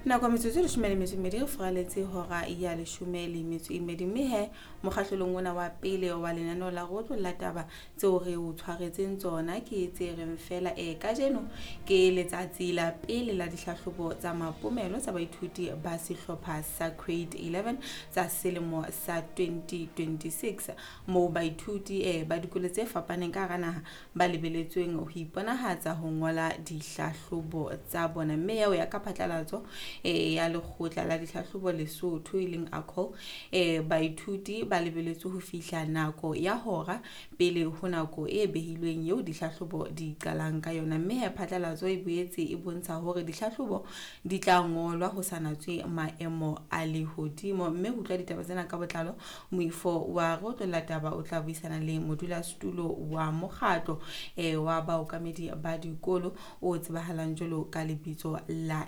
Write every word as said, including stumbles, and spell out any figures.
Nako metsotso e leshome le metso e mmedi re furaletse hora ya leshome le metso e mmedi, mme he mokgahlelong ona wa pele wa lenaneo la rotlo la taba tseo re o tshwaretseng tsona ke tse reng fela e kajeno ke letsatsi la pele la dihlahlobo tsa mapomelo tsa baithuti ba sehlopha sa grade eleven tsa selemo sa twenty twenty-six, moo baithuti eh ba dikolo tse fapaneng ka hara naha ba lebeletsweng ho iponahatsa ho ngola dihlahlobo tsa bona. Mme ya ho ya ka phatlalatso e ya lekgotla la dihlahlobo Lesotho e leng ACOL, eh baithuti ba lebeletswe ho fihla nako ya hora pele ho nako e behilweng eo dihlahlobo di qalang ka yona. Mme he phatlalatso e boetse e bontsha hore dihlahlobo di tla ngolwa ho sa natswe maemo a lehodimo. Mme ho utlwa ditaba tsena ka botlalo, moifo wa rotlo la taba o tla buisana le modulasetulo wa mokgatlo eh wa baokamedi ba dikolo o tsebahalang jwalo ka lebitso la